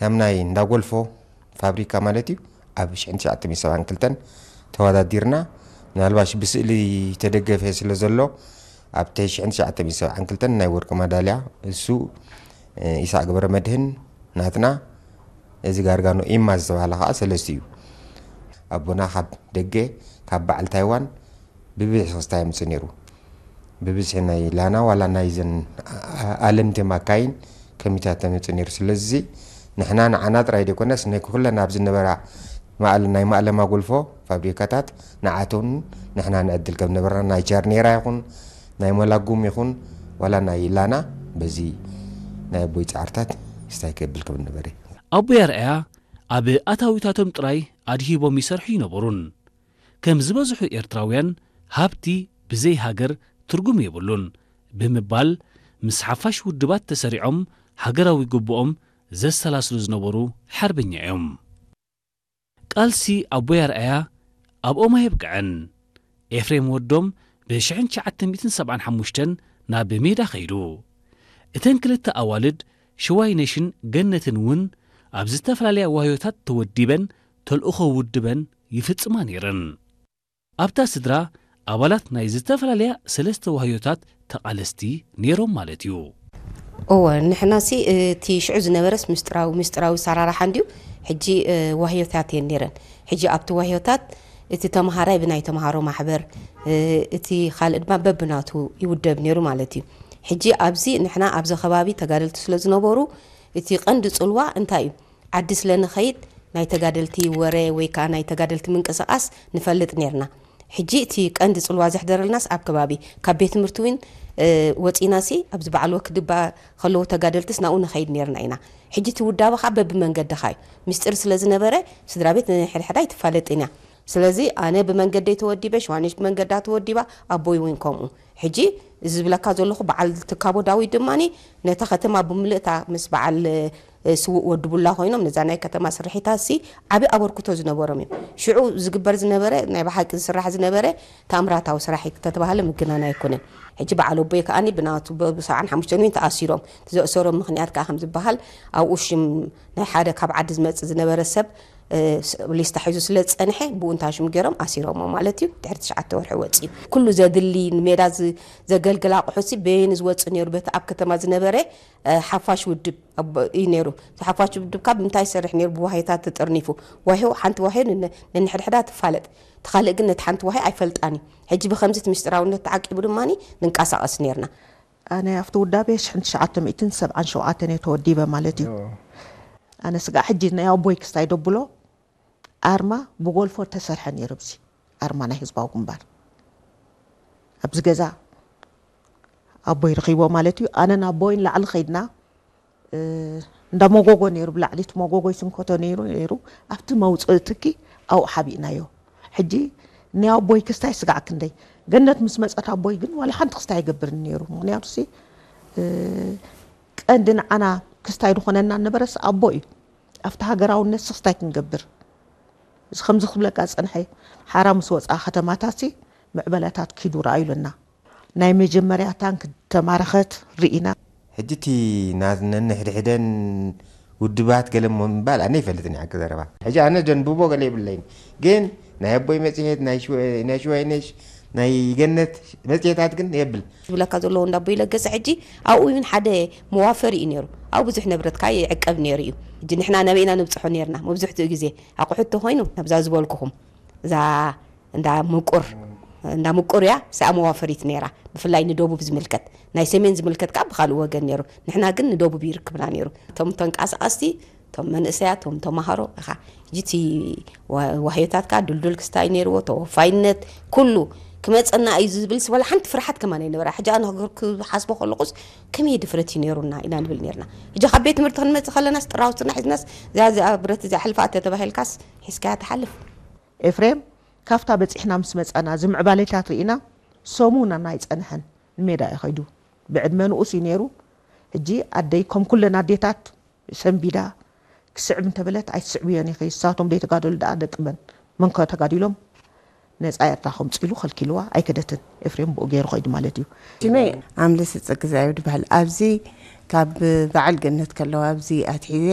ከም ናይ እንዳጎልፎ ፋብሪካ ማለት እዩ። ኣብ ሽሕን ትሽዓተ ሚእትን ሰብዓን ክልተን ተወዳዲርና፣ ምናልባሽ ብስእሊ ተደገፈ ስለ ዘሎ ኣብቲ ሽሕን ትሽዓተ ሚእትን ሰብዓን ክልተን ናይ ወርቂ ማዳልያ እሱ፣ እ፣ ኢሳቅ ገብረ መድህን ናትና፣ እዚ ጋርጋኖ ኢማ ዝተባህለ ከዓ ሰለስቲ እዩ። ኣቦና ካብ ደገ፣ ካብ በዓል ታይዋን ብብዝሒ ክስታይ የምፅእ ነይሩ። ብብዝሒ ናይ ላና ዋላ ናይ ዘን ኣለምቲ ማካይን ከሚታት ተመፅእ ነይሩ። ስለዚ ንሕና ንዓና ጥራይ ዘይኮነስ ናይ ኩለን ኣብ ዝነበራ ማእለ-፣ ናይ ማእለማ ጎልፎ ፋብሪካታት ንዓቶም ንሕና ንዕድል ከም ነበርና ናይ ቻርኔራ ይኹን ናይ ሞላጉም ይኹን ዋላ ናይ ላና በዚ ናይ ኣቦይ ጻዕርታት ክስታይ ከብል ከም ነበረ። ኣቦይ ኣርኣያ ኣብ ኣታዊታቶም ጥራይ ኣድሂቦም ይሰርሑ ይነበሩን። ከም ዝበዝሑ ኤርትራውያን ሃብቲ ብዘይ ሃገር ትርጉም የብሉን ብምባል ምስ ሓፋሽ ውድባት ተሰሪዖም ሃገራዊ ግቡኦም ዘሰላስሉ ዝነበሩ ሓርበኛ እዮም። ቃልሲ ኣቦይ ኣርኣያ ኣብኦም ኣየብቅዐን። ኤፍሬም ወዶም ብ ሽሕን ትሽዓተ ሚእትን ሰብዓን ሓሙሽተን ናብ ሜዳ ከይዱ። እተን ክልተ ኣዋልድ ሽዋይነሽን ገነትን እውን ኣብ ዝተፈላለያ ዋህዮታት ተወዲበን ተልእኾ ውድበን ይፍጽማ ነይረን። ኣብታ ስድራ ኣባላት ናይ ዝተፈላለያ ሰለስተ ዋህዮታት ተቓለስቲ ነይሮም ማለት እዩ። እወ፣ ንሕናሲ እቲ ሽዑ ዝነበረስ ምስጢራዊ፣ ምስጢራዊ ሰራርሓ እንድዩ። ሕጂ፣ እ፣ ዋህዮታት እየን ነይረን። ሕጂ ኣብቲ ዋህዮታት እቲ ተምሃራይ ብናይ ተምሃሮ ማሕበር፣ እ፣ እቲ ካልእ ድማ በብናቱ ይውደብ ነይሩ ማለት እዩ። ሕጂ ኣብዚ ንሕና ኣብዚ ከባቢ ተጋደልቲ ስለ ዝነበሩ እቲ ቀንዲ ጽልዋ እንታይ እዩ? ዓዲ ስለ ንኸይድ ናይ ተጋደልቲ ወረ ወይ ከዓ ናይ ተጋደልቲ ምንቅስቓስ ንፈልጥ ነይርና። ሕጂ እቲ ቀንዲ ጽልዋ ዘሕደረልናስ ኣብ ከባቢ፣ ካብ ቤት ትምህርቲ እውን፣ እ፣ ወጺናሲ ኣብዚ በዓል ወክድባ ከለዉ ተጋደልትስ ናብኡ ንኸይድ ነይርና ኢና። ሕጂ እቲ ውዳበ ከዓ በብመንገድኻ እዩ። ምስጢር ስለ ዝነበረ ስድራ ቤት ንሕድሕዳ ኣይትፋለጥን እያ። ስለዚ ኣነ ብመንገደይ ተወዲበ፣ ሽዋነሽ ብመንገዳ ተወዲባ፣ ኣቦይ እውን ከምኡ። ሕጂ እዚ ዝብለካ ዘለኹ በዓል ትካቦ ዳዊት ድማኒ ነታ ከተማ ብምልእታ ምስ በዓል፣ እ፣ ስዉእ ወዲ ቡላ ኮይኖም ነዛ ናይ ከተማ ስርሒታትሲ ዓቢ ኣበርክቶ ዝነበሮም እዮም። ሽዑ ዝግበር ዝነበረ ናይ ብሓቂ ዝስራሕ ዝነበረ ተኣምራታዊ ስራሕ እዩ ተተባህለ ምግናን ኣይኮነን። ሕጂ በዓል ኣቦይ ከኣኒ ብናቱ ብ-፣ ብሰብዓን ሓሙሽተን እውን ተኣሲሮም። እቲ ዘእሰሮም ምኽንያት ከኣ ከም ዝበሃል ኣብኡ ሽም ናይ ሓደ ካብ ዓዲ ዝመጽእ ዝነበረ ሰብ፣ እ፣ ስ-፣ ሊስታ ሒዙ ስለ ዝጸንሐ ብኡ እንታ ሽም ገይሮም ኣሲሮሞ ማለት እዩ። ድሕሪ ትሽዓተ ወርሒ ወጺኡ። ኩሉ ዘድሊ ንሜዳ ዝ-፣ ዘገልግል ኣቑሑትሲ በየን ዝወጽእ ነይሩ? በቲ ኣብ ከተማ ዝነበረ፣ እ፣ ሓፋሽ ውድብ ኣብ-፣ እዩ ነይሩ። እቲ ሓፋሽ ውድብ ካብ ምንታይ ይሰርሕ ነይሩ? ብዋህዮታት ተጠርኒፉ። ዋህዮ፣ ሓንቲ ዋህዮ ነን-፣ ነንሕድሕዳ ትፋለጥ። እቲ ካልእ ግን ነቲ ሓንቲ ዋህዮ ኣይፈልጣን እዩ። ሕጂ ብኸምዚ እቲ ምስጢራውነት ተዓቂቡ ድማኒ ንንቀሳቐስ ነይርና። ኣነ ኣብቲ ውዳቤ ሽሕን ትሽዓተ ሚእትን ሰብዓን ሸውዓተን እየ ተወዲበ ማለት እዩ። ኦ። ኣነ ስጋዕ ሕጂ ናይ ኣቦይ ክስታይ ደብሎ ኣርማ ብጎልፎ ተሰርሐ ነይሩ። ኣብዚ ኣርማ ናይ ህዝባዊ ግንባር ኣብዚ ገዛ ኣቦይ ረኺቦ ማለት እዩ። ኣነን ኣቦይን ላዕሊ ኸይድና፣ እ፣ እንዳ መጎጎ ነይሩ፣ ብላዕሊ እቲ መጎጎ ይስንከቶ ነይሩ፣ ነይሩ። ኣብቲ መውፅኢ ትኪ ኣብኡ ሓቢእናዮ። ሕጂ ናይ ኣቦይ ክስታይ ስጋዕ ክንደይ ገነት ምስ መፀት ኣቦይ ግን ዋላ ሓንቲ ክስታይ ኣይገብርን ነይሩ። ምኽንያቱ ሲ፣ እ፣ ቀንዲ ንዓና ክስታይ ዝኾነና ነበረስ ኣቦ እዩ። ኣብቲ ሃገራውነት ሲ ክስታይ ክንገብር እዚ ከምዚ ክብለካ ዝጸንሐ፣ ሓራ ምስ ወጽኣ ከተማታትሲ ምዕበለታት ኪዱ ረኣዩ ኣለና። ናይ መጀመርያ ታንክ ተማረኸት ርኢና። ሕጂ እቲ ና-፣ ነንሕድሕደን ውድባት ገለ እሞ ምባል ኣነ ይፈልጥን እየ፣ ሓቂ ዘረባ። ሕጂ ኣነ ዘንብቦ ገለ የብለይን፣ ግን ናይ ኣቦይ መጽሔት፣ ናይ ሽወ-፣ ናይ ሽዋይነሽ፣ ናይ ገነት መጽሔታት ግን የብል። ዝብለካ ዘለዉ እንዳ ኣቦይ ለገሰ ሕጂ ኣብኡ እውን ሓደ መዋፈሪ እዩ ነይሩ። ኣብኡ ብዙሕ ንብረትካ ይዕቀብ ነይሩ እዩ። ሕጂ ንሕና ናበይ ኢና ንብጽሖ ነይርና? መብዝሕትኡ ግዜ ኣቑሑት ተኾይኑ ናብዛ ዝበልኩኹም፣ እዛ እንዳ ምቁር፣ እንዳ ምቁር እያ፣ እዚኣ መዋፈሪት ነይራ። ብፍላይ ንደቡብ ዝምልከት፣ ናይ ሰሜን ዝምልከት ከኣ ብኻልእ ወገን ነይሩ። ንሕና ግን ንደቡብ ይርክብና ነይሩ። እቶም ተንቀሳቐስቲ፣ እቶም መንእሰያት፣ እቶም ተማሃሮ ኢኻ። ሕጂ እቲ ዋ-፣ ዋህዮታት ከኣ ድልዱል ክስታይ ነይርዎ፣ ተወፋይነት፣ ኩሉ ክመጸና እዩ ዝብል ስበላ ሓንቲ ፍርሓት ከማን ኣይነበራ። ሕጂ ኣነ ክገር-፣ ክሓስቦ ከለኹስ ከመይ ድፍረት እዩ ነይሩና ኢና ንብል ነይርና። ሕጂ ካብ ቤት ትምህርቲ ክንመጽእ ከለናስ ጥራውትና ሒዝናስ እዚኣ፣ እዚኣ ብረት እዚኣ ሕልፋ ተተባሂልካስ ሒዝካያ ትሓልፍ። ኤፍሬም፣ ካብታ በጺሕና ምስ መጻና፣ እዚ ምዕባሌታት ርኢና፣ ሰሙን ኣይጸንሐን፣ ንሜዳ እዩ ኸይዱ። ብዕድመ ንኡስ እዩ ነይሩ። ሕጂ ኣደይ፣ ከም ኩለን ኣዴታት፣ ሰንቢዳ፣ ክስዕብ እንተበለት፣ ኣይትስዕብዮን ኢኺ፣ ንሳቶም ደይተጋደሉ ደኣ ደቂ መን? መን ከ ተጋዲሎም? ነጻ ኤርትራ ከምጽእ ኢሉ ከልኪልዋ፣ ኣይከደትን። ኤፍሬም ብኡ ገይሩ ኸይዱ ማለት እዩ። ሽመይ ኣምለሰ ጸግዛይ እዩ ዝበሃል። ኣብዚ ካብ በዓል ገነት ከለዋ ኣብዚ ኣትሒዘ